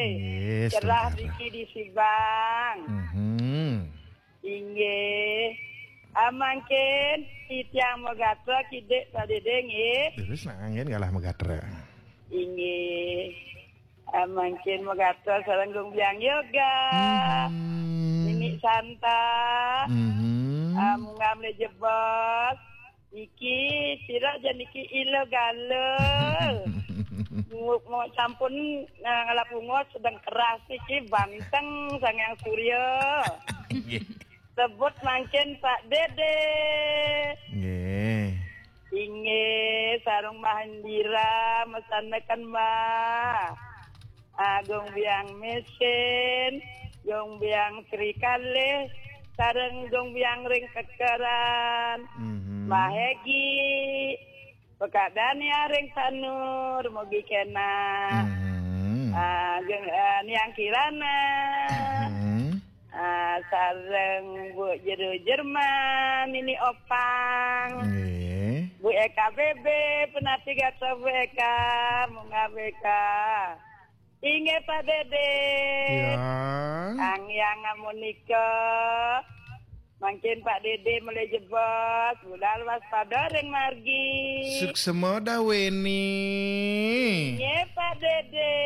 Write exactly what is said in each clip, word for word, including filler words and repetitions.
Nggih, cerah saudara. Niki di Sibang. Mhm. Inggih. Ah, mangkin titiang magatra kidik Pak Dede nggih. Terus nak angin galah magatra. Inggih. Ah, mangkin magatra sareng Gung Biang Yoga. Mhm. Nini Santa. Mhm. Ah, munggah mele jebos. Niki, sira aja niki ila gala. Mu-, mu-, sampun, nah, ngalap ungus sedang keras niki banteng Sang Hyang Surya. Nggih. Sebut mangkin Pak Dede. Nggih. Inggih, sareng Mahendira, mesanaken Mbah. Agung Biang Mesin, Gung Biang Sri Kalih, sareng Gung Biang ring Kekeran. Mhm. Mbah Hegi, Pekak Dania ring Sanur, mugi kena. Mhm. Ah, Gung, ah, Niang Kirana. Mhm. Ah, sareng Bu Jero Jerman, Nini Opang. Nggih. Bu Eka B B, penati gatra Bu Eka, munggah B K. Inggih Pak Dede. Ya. Sang Hyang amunika. Mangkin Pak Dede mele jebos, budal waspada ring margi. Suksema Daweni. Nggih Pak Dede.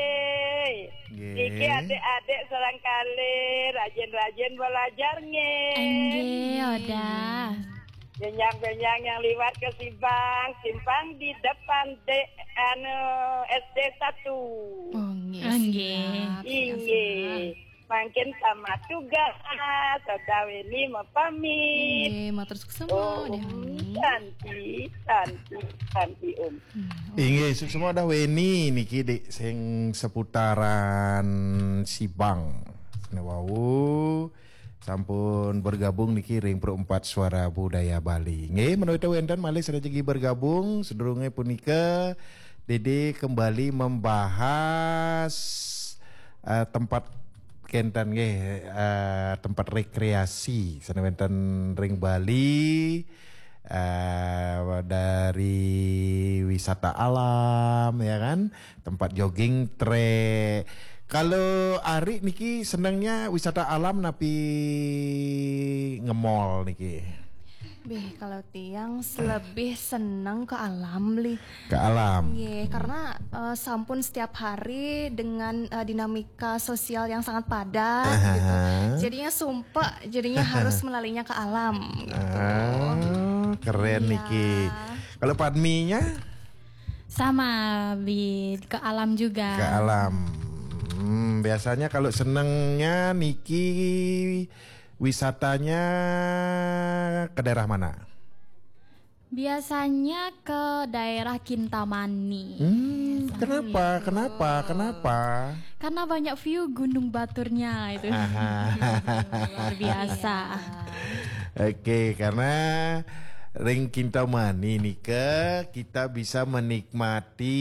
Nggih. Niki adik-adik sareng kalih, rajin-rajin belajar nggih. Nggih, Oda. Benjang-benjang yang liwat ke Sibang, simpang di depan de-, anu, S D satu. Oh, nggih, nggih. Siap, siap, inggih. Siap. Mangkin tamat tugas, Daweni mapamit. Inggih, matur suksema, Om Daweni. Santi, Santi, Santi, Om. Hmm, Om. Inggih, suksema Daweni niki dik sing seputaran Sibang. Sene wau sampun bergabung niki ring Pro empat Suara Budaya Bali. Nggih, menawi wenten malih sane jagi bergabung, sedurunge punika Dede kembali membahas, eh, tempat kenten nggih, eh, tempat rekreasi sane wenten ring Bali, eh, dari wisata alam, ya kan, tempat jogging track. Kalau Ari niki senengnya wisata alam napi nge-mall niki? Beh, kalau tiang lebih seneng ke alam, Li. Ke alam. Nggih, karena, eh, sampun setiap hari dengan, eh, dinamika sosial yang sangat padat, gitu. Aha. Jadinya sumpek, jadinya harus melalinya ke alam, gitu. Ah, keren. Iya. Niki. Kalau Padminya? Sama, Bi, ke alam juga. Ke alam. Hmm, biasanya kalau senengnya niki wisatanya ke daerah mana? Biasanya ke daerah Kintamani. Hmm, kenapa? Kenapa? Kenapa? Karena banyak view Gunung Baturnya itu. Aha. Luar biasa. Iya. Oke, karena ring Kintamani nika kita bisa menikmati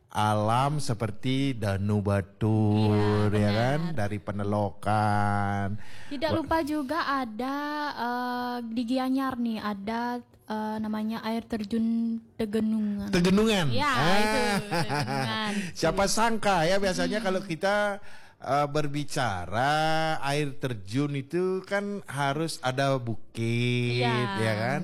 alam seperti Danu Batur, iya, ya kan? Benar. Dari Penelokan. Tidak lupa juga ada, eh, di Gianyar nih, ada, eh, namanya air terjun Tegenungan. Tegenungan. Ya, ah, itu, Tegenungan. Siapa sangka ya, biasanya kalau kita, eh, berbicara air terjun itu kan harus ada bukit, iya, ya kan?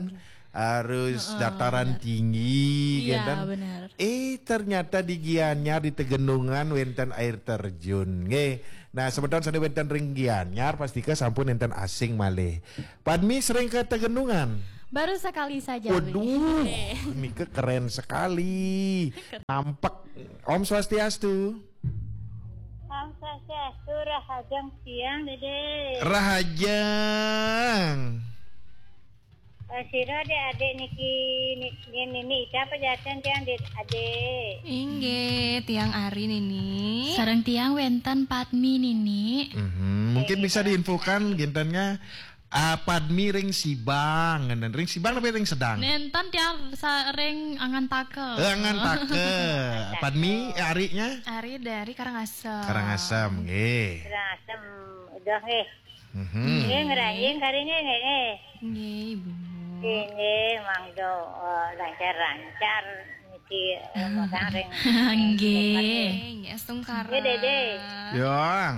Harus, heeh, dataran, benar, tinggi, iya, kan? Benar. Eh, ternyata di Gianyar, di Tegenungan wenten air terjun. Nggih. Nah, semeton sane wenten ring Gianyar, pastika sampun enten asing malih. Padmi sering ke Tegenungan? Baru sekali saja, Bli. Waduh, nika keren sekali. Nampek. Om Swastiastu. Om Swastiastu, rahajeng tiang, Dede. Rahajeng. Eh, sira adik-adik niki, ni-, ni-, nini Ica apa jaten tiang, Dede? Inggih, tiang Ari nini. Sareng tiang wenten Padmi nini. Mhm, mungkin bisa diinfokan gintennya, ah, Padmi ring Sibang, ngenten ring Sibang tapi ring Sedang. Nenten tiang sa-, ring Angantaka. Eh, Angantaka. Padmi, eh, Arinya? Ari dari Karangasem. Karangasem, nggih. Karangasem, udah nggih. Mhm. Nggih, ngranjing kari nggih, nggih, nggih. Nggih, Ibu. Nggih, nggih, mangda, eh, lancar-lancar niki, eh, magang ring. Nggih. Nggih, Nggih, Dede. Yong.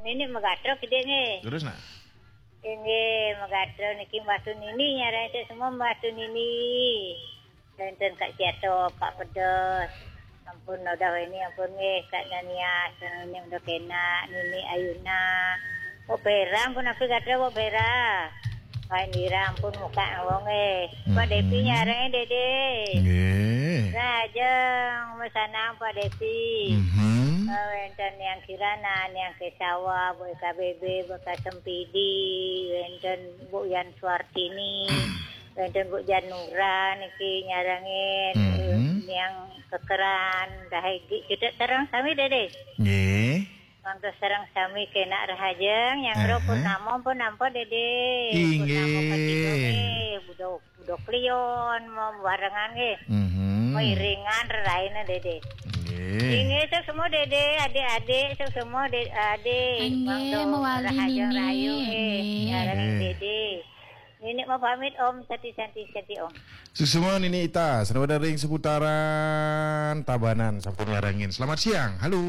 Nini megatro gede nggih. Terus, nak? Nggih, megatro niki Mbah Tunini, nyarane semua Mbah Tunini. Wenten Kak Ciato, Pak Pedes. Ampun, udah ini, ampun nggih, Kak Dania, ini udah kena, Nini Ayuna. Kok Bera, ampun, aku gatra, kok Bera. Pak Indira, ampun, muka wong eh. Pak Depi, nyarane Dede. Nggih. Rajeng, mesanang Pak Depi. Mhm. Eh, wenten yang Kirana, yang Kesawa, Bu K B B, Bu K Sempidi, wenten Bu Yan Suartini, wenten Bu Janura niki nyarengin, Mhm. Yang Kekeran, Dahegi, kita terang sami Dede. Nggih. Mantos sareng sami kena rahajeng, yang Aha. Ro purnama pun nampa Dede. Inggih. Purnama ketiga nggih, budok, budok lion, mau barengan nggih. Mhm. Mau iringan reraina Dede. Nggih. Inggih, sok semua Dede, adik-adik, sok semua de-, adik. Inggih, Mantos mewali rahajeng Nini. Rahayu nggih. Nggih. Nyarengin Nggih. Dede. Nini mau pamit Om, Sati Santi Santi Om. Suksma Nini Ita, selamat ring seputaran Tabanan, sampun nyarengin. Selamat siang, halo.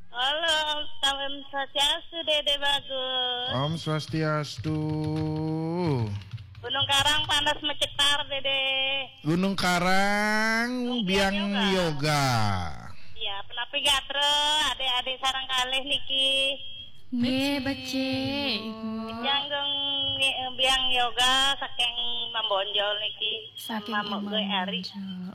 Halo, Om Swastiastu, Dede Bagus. Om Swastiastu. Gunung Karang panas mecetar, Dede. Gunung Karang, Gunung Biang Biang Yoga. Yoga. Iya, penapi gatra, adik-adik sareng kalih niki. Nggih, becik. Becik. Nyanggung ngi-, Biang Yoga saking Mambonjol niki. Saking Mamuk gue ari. Mambonjol.